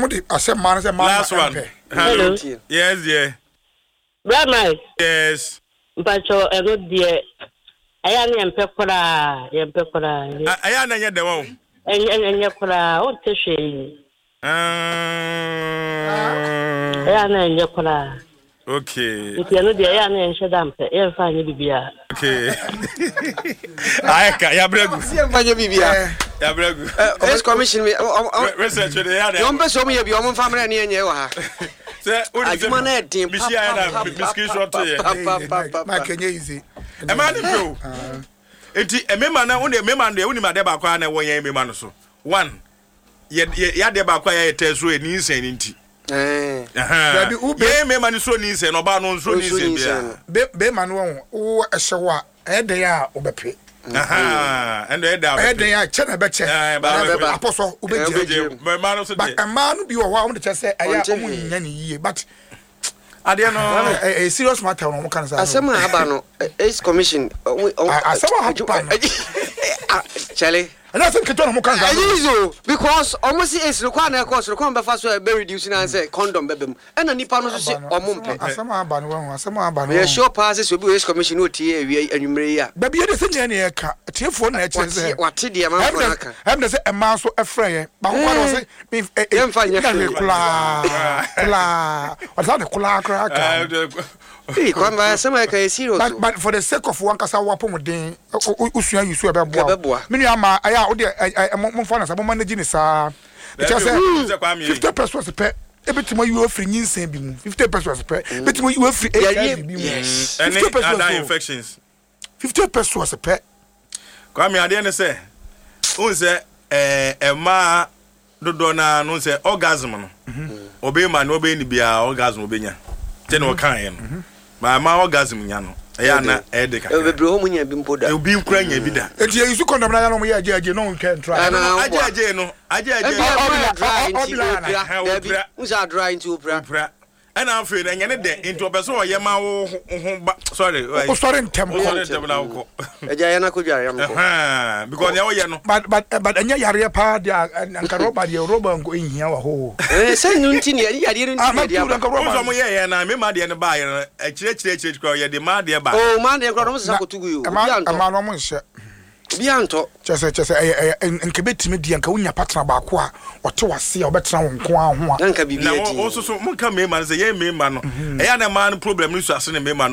ɔmo de ahyɛ mmaa no sɛ mmaa Last no one. mpɛ. Hello. Hello. Yes, dear. Bra Mike, Yes. mpakyɛw ɛno deɛ ɛyɛ a na yɛmpɛ koraa, yɛmpɛ koraa. Ɛyɛ a na ɛnyɛ dɛ wɔ o. Ɛnyɛ ɛnyɛ koraa, wonte hwee. Ɛyɛ a na ɛnyɛ koraa. Okay. Nti ɛno deɛ ɛyɛ a na yɛnhyɛ da mpɛ, yɛmfa nyɛ biribiara. Okay. Ayɛ ka yabrɛ gu. Yɛmfa nyɛ biribiara. Yabrɛ gu. Ace commission mi. Research de yɛ adɛ. Wɔn pɛ sɛ wɔn yɛ bi wɔn nfa mmerɛ ne yɛn nyɛ wɔ ha. Sɛ o de adwuma no yɛ den papapapapapapa. Mike ɛnyɛ easy. Ɛmaa ne mpɛ o. Nti mmarima no wo deɛ mmarima no deɛ wonim adeɛ baako a na ɛwɔ yɛn mmarima no so one yɛ yɛ yɛ adeɛ baako a yɛayɛ tɛ soro yɛ nyinsɛn no nti. Dabi wo be yɛn mmarima no soro nyinsɛn no ɔbaa no nsoro nyinsɛn biara. Be bɛrima no wɔn wo ɛhyɛ wo a ɛyɛ dɛn a wobɛpe. Ɛnna ɛyɛ dɛn a ɛyɛ dɛn a kyɛ na ɛbɛkyɛ apɔsɔ wobɛgye mmaa no so but mmaa no bi wɔ hɔ a wɔn de kyɛ sɛ ɛyɛ a wɔn nya ne yie but adeɛ no ɛyɛ serious matter wɔn ka no saa. Asɛm a aba no AIDS commission. Asɛm a aba no. Kyɛle. Ɛnyɛ asɛm ketewa na wɔn ka no saa. Ɛyɛ easy o because wɔn si AIDS no kwan na ɛkɔ soro kwan bɛfa so a ɛbɛ reduce na sɛ condom bɛbɛ mu ɛna nipa no nso si wɔn mpɛ. Asɛm a aba no wɔn asɛm a aba no. Meyɛ sure paa sɛ sɛ obi wɔ AIDS commission na otie awia anwummere yi a. Dabi yɛ de sɛ nyɛ ne yɛ ka tiefoɔ na ɛkyerɛ sɛ. Wate deɛ manfoɔ no aka. Ɛm de sɛ mmaa nso ɛfrɛ yɛ baako kora na ɔsɛ Yɛmfa nyɛ hwee. Koraa koraa ɔde saa de koraa koraa ka. Ee Kwame ba asɛm a ɛka yɛ serious But o. but for the sake of wankasa w'apɔmuden wosua yi so ɛbɛboa wo. Ɛbɛboa. Me nua maa ɛyɛ a wode ɛ ɛ mo momfa no saa mo manage ne saa. Ɛkyerɛ sɛ 50 pesos pɛ ebetumi ayi wo afiri nyinsɛn bi mu 50 pesos pɛ ebetumi ayi wo afiri HIV bi mu. Yes. 50 Ɛne pesos other o. infections. 50 pesos pɛ. Kwame adeɛ ne sɛ wohu sɛ ɛɛ mmaa dodoɔ no ara no sɛ orgasm no ɔbɛma no ɔbɛyɛ ne biara orgasm ɔbɛnya sɛ na ɔkaeɛ no maa mmaa orgasm nya no ɛyɛ ana ɛyɛ de kakra Bebree hɔ mu nya bi mpo da. Obi nkura nya bi da. Eti yɛ use condom na yɛ na ɔmo yɛ agye agye na ɔmo twɛ ntura. Ɛna Agye agye no agye agye Ebi no ɛma dry nti ɔbila opira. ana? Dabi, nsa dry nti opira. Opira. Ɛna afei no ɛnyɛ ne dɛ nti ɔpɛ sɛ ɔyɛ ma wo ho ba sorry. Wosɔre ntɛm kɔ. Wosɔre ntɛm na wokɔ. Ɛgya yɛn akɔdware yɛn kɔ. Because nea woyɛ no. But but ɛnyɛ yareɛ paa deɛ a nka rɔba deɛ rɔba nko nhia wɔ hɔ. Ɛɛ sɛ no nti ne yareɛ no nti ne yɛde aba. Wo nso ɔmo yɛ yɛn na mema deɛ no baa yɛ no akyire akyire akyire koraa yɛde maa deɛ baa. Oo maa deɛ koraa ɔmo sesa kɔto gu yi o. Obi antɔ. Ɛmaa no ɔmo nhyɛ. Obi antɔ. Kyerɛ sɛ kyerɛ sɛ ɛyɛ ɛyɛ nka ebetumi deɛ nka wonya partner baako a ɔte w'ase a ɔbɛtena wo nko ara ho a. Na nka biribi Na adi. wo nso so monka mmarima no sɛ yɛn mmarima no ɛyɛ a na mmaa no problem no su ase ne mmarima no.